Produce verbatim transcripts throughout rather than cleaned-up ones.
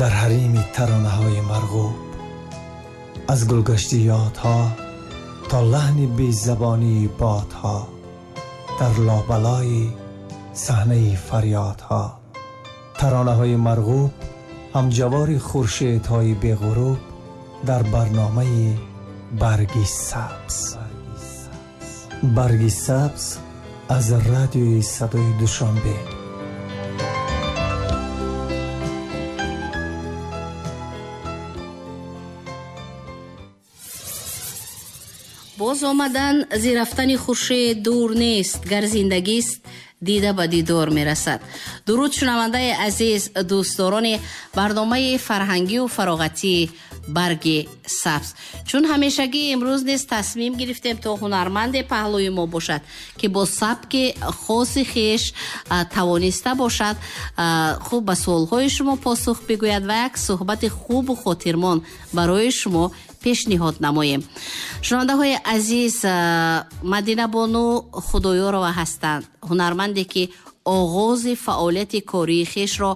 Дар ҳарими таронаҳои марғуб, аз гулгашти ёдҳо то лаҳни безабонии бодҳо, дар лобалои саҳнаи фарёдҳо. Таронаҳои марғуб ҳамҷавори хуршедҳои беғуруб дар барномаи барги сабз. Барги сабз аз радиои садои Душанбе. Боз омадан зи рафтани хуршед дур нест, гар зиндагист дида ба дидор мерасад. Дуруд шунавандаи азиз, дӯстдорони барномаи фарҳангию фароғатии барги сабз. Чун ҳамешагӣ имрӯз низ тасмим гирифтем то ҳунарманде паҳлӯи мо бошад, ки бо сабки хоси хеш тавониста бошад хуб ба суолҳои шумо посух бигӯяд ва як суҳбати хубу хотирмон барои шумо пешниҳод намоем. Шунавандаҳои азиз, Мадинабону Худоёрова ҳастанд, ҳунарманде ки оғози фаъолияти кории хешро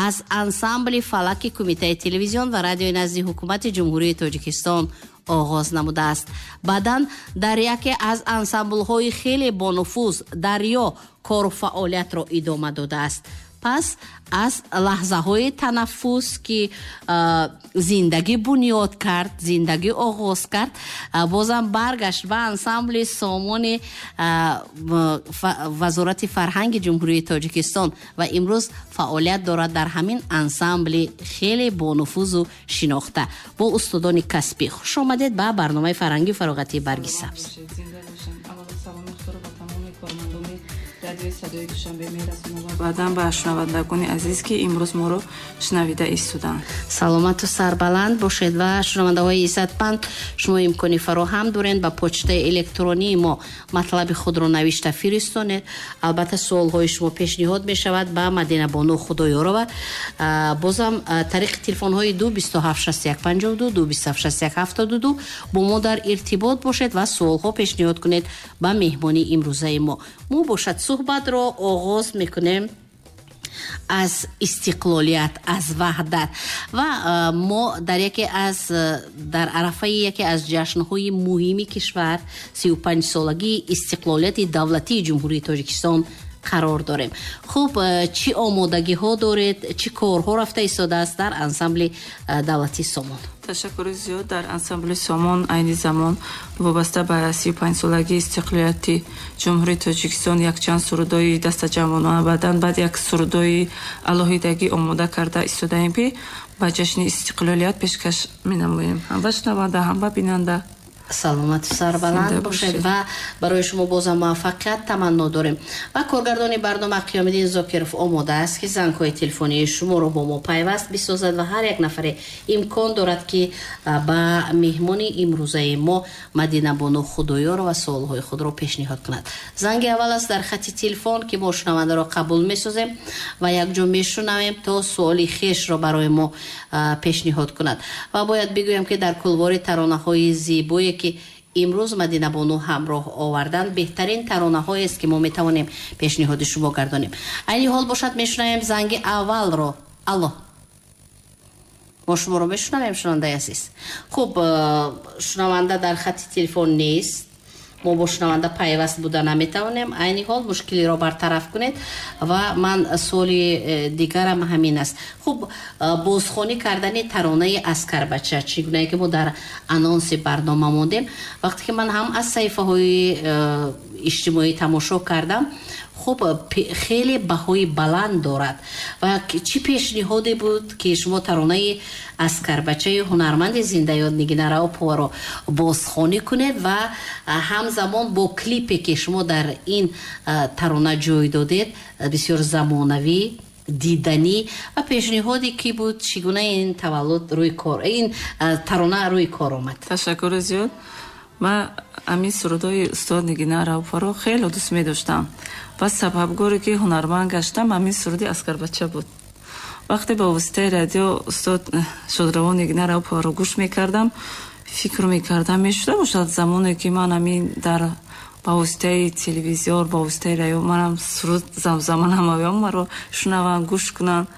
аз ансамбли фалаки Кумитаи телевизион ва радиои назди ҳукумати Ҷумҳурии Тоҷикистон оғоз намудааст. Баъдан дар яке аз ансамблҳои хеле бонуфуз Дарё кору фаъолиятро идома додааст. Пас аз лаҳзаҳои танаффус, ки зиндагӣ бунёд кард, зиндагӣ оғоз кард, бозам баргашт ба ансамбли Сомони Вазорати фарҳанги Ҷумҳурии Тоҷикистон ва имрӯз фаъолият дорад дар ҳамин ансамбли хеле бонуфузу шинохта бо устодони касбӣ. Хуш омадед ба барномаи фарҳангию фароғатии Барги сабз. Радиои садои Душанбе мерасонам ва баъдан ба шунавандагони азиз, ки имрӯз моро шунавида истоданд. Саломату сарбаланд бошед ва шунавандаҳои иззатманд, шумо имкони фароҳам доред ба почтаи электронии мо матлаби худро навишта фиристонед. Албатта суолҳои шумо пешниҳод мешавад ба Мадинабону Худоёрова. Бозам тариқи телефонҳои ду бисту ҳафт шасту як панҷоҳу ду, ду бисту ҳафт шасту як ҳафтоду ду бо мо дар иртибот бошед ва суолҳо пешниҳод кунед ба меҳмони имрӯзаи мо. Мо бошад суҳбатро оғоз мекунем аз истиқлолият, аз ваҳдат ва мо дар яке аз дар арафаи яке аз ҷашнҳои муҳими кишвар, сию панҷсолагии истиқлолияти давлатии Ҷумҳурии Тоҷикистон қарор дорем. Хуб, чӣ омодагиҳо доред, чӣ корҳо рафта истодааст дар ансамбли давлатии Сомон? Ташаккури зиёд. Дар ансамбли Сомон айни замон вобаста ба сию панҷсолагии истиқлолияти Ҷумҳурии Тоҷикистон якчанд сурудҳои дастаҷамъона, баъдан баъд як сурудҳои алоҳидагӣ омода карда истодаем, ки ба ҷашни истиқлолият пешкаш менамоем, ҳам ба шунаванда, ҳам ба бинанда. Саломату сарбаланд бошед ва барои шумо бозам муваффақият таманно дорем. Ва коргардони барнома Қиёмиддин Зокиров омода аст, ки зангҳои телефонии шуморо бо мо пайваст бисозад ва ҳар як нафаре имкон дорад, ки ба меҳмони имрӯзаи мо Мадинабону Худоёрова суолҳои худро пешниҳод кунад. Занги аввал аст дар хати телефон, ки мо шунавандаро қабул месозем ва якҷо мешунавем то суоли хешро барои мо пешниҳод кунад. Ва бояд бигӯям, ки дар кулвори таронаҳои зебое ки имрӯз Мадинабону ҳамроҳ овардан, беҳтарин таронаҳоест, ки мо метавонем пешниҳоди шумо гардонем. Айни ҳол бошад мешунавем занги аввалро. Алло, мо шуморо мешунавем, шунавандаи азиз. Хуб, шунаванда дар хати телефон нест, мо бо шунаванда пайваст буда наметавонем. Айни ҳол мушкилиро бартараф кунед ва ман суоли дигарам ҳамин аст. Хуб, бозхонӣ кардани таронаи Аскарбача, чӣ гунае ки мо дар анонси барнома мондем, вақте ки ман ҳам аз саҳифаҳои иҷтимоӣ тамошо кардам, хуб хеле баҳои баланд дорад. Ва чӣ пешниҳоде буд, ки шумо таронаи Аскарбачаи ҳунарманди зиндаёд Нигина Раъуповаро бозхонӣ кунед ва ҳамзамон бо клипе, ки шумо дар ин тарона ҷой додед, бисёр замонавӣ, диданӣ ва пешниҳоде ки буд, чӣ гуна ин таваллуд рӯи кор, ин тарона рӯи кор омад? Ташаккури зиёд. Ман ҳамин сурудҳои устод Нигина Раъуповаро хеле дӯст медоштам ва сабабгоре, ки ҳунарманд гаштам, ҳамин суруди Аскарбача буд. Вақте ба воситаи радио устод шодравон Нигина Раъуповаро гӯш мекардам, фикр мекардам, мешуда бошад замоне, ки ман ҳамин дар ба воситаи телевизор, ба воситаи радио манам суруд замзама намоям, маро шунаванд, гӯш кунанд.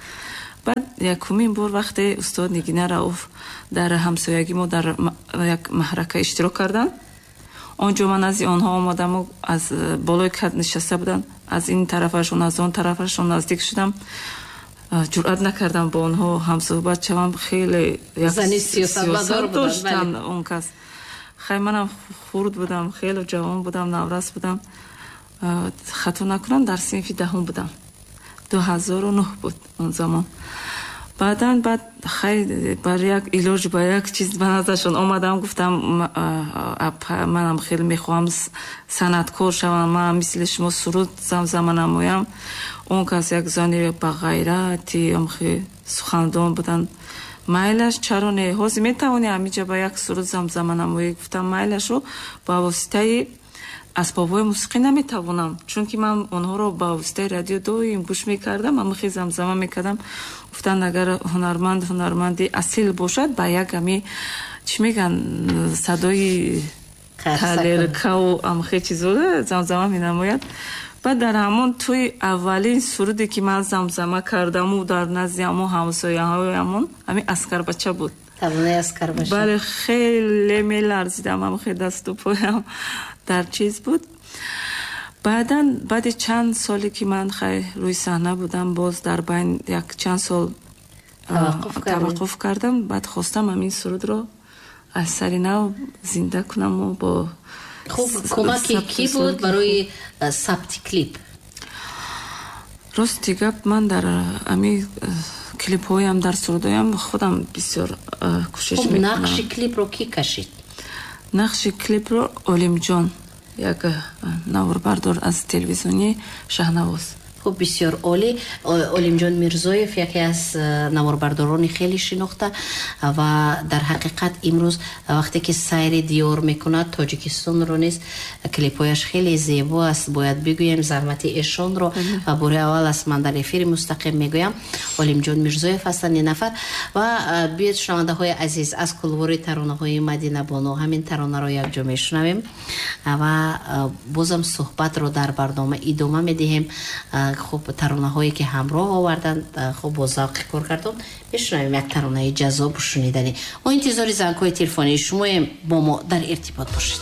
Баъд якумин бор вақте устод Нигина Рауф дар ҳамсоягӣ мо дар як маҳрака иштирок карданд, он ҷо ман назди онҳо омадаму аз болои кат нишаста буданд, аз ин тарафашон, аз он тарафашон наздик шудам, ҷуръат накардам бо онҳо ҳамсӯҳбат шавам. Хеле сиёсат доштанд он кас. Хай, манам хурд будам, хеле ҷавон будам, наврас будам, хато накунам, дар синфи даҳум будам, ду ҳазору нӯҳ буд он замон. Баъдан баъд хай, бар як илоҷ, ба як чиз ба наздашон омадам, гуфтам: «Манам хеле мехоҳам санъаткор шавам, манам мисли шумо суруд замзама намоям». Он кас як зани ба ғайрати сухандон буданд. «Майлаш, чаро не, ҳозир метавонӣ ҳамиҷа ба як суруд замзама намоӣ?» Гуфтам: «Майлашу, ба воситаи асбобҳои мусиқӣ наметавонам, чунки ман онҳоро ба воситаи радио доим гӯш мекардам, амихе замзама мекардам». Гуфтанд: «Агар ҳунарманд ҳунарманди асил бошад, ба як ами чӣ меган, садои талеркаву амихе чизо замзама менамояд». Баъд дар ҳамон тӯи аввалин суруде ки ман замзама кардаму дар назди ҳамон ҳамсояҳоямон, ҳамин «Аскарбача» буд. Бале, хеле меларзидам, амихе дасту поям дар чиз буд. Баъдан, баъди чанд соле ки ман хай рӯи саҳна будам, боз дар байн як чанд сол таваққуф кардам. Баъд хостам ҳамин сурудро аз сари нав зинда кунаму бо Хуб, кӯмаки кӣ буд барои сабти клип? Рости гап, ман дар ами клипҳоям, дар сурудҳоям худам бисёр кӯшиш мекунам. Нақши клипро кӣ кашид? Нақши клипро Олимҷон, як наворбардор аз телевизиони Шаҳнавоз. Хуб, бисёр олӣ. Олимҷон Мирзоев яке аз э, наворбардорони хеле шинохта ва дар ҳақиқат имрӯз вақте ки сайри диёр мекунад, Тоҷикистонро низ, клипҳояш хеле зебо аст. Бояд бигӯем заҳмати эшонро ва бори аввал аст ман дар эфири мустақим мегӯям, Олимҷон Мирзоев ҳастанд ин нафар. Ва э, биёед, шунавандаҳои азиз, аз кулвори таронаҳои Мадинабону ҳамин таронаро якҷо мешунавем ва э, бозам суҳбатро дар барнома идома медиҳем. Хуб, таронаҳое ки ҳамроҳ оварданд, хуб, бо завқи коргардон мешунавем, як таронаи ҷаззобу шуниданӣ. Мо интизори зангҳои телефонии шумоем, бо мо дар иртибот бошед.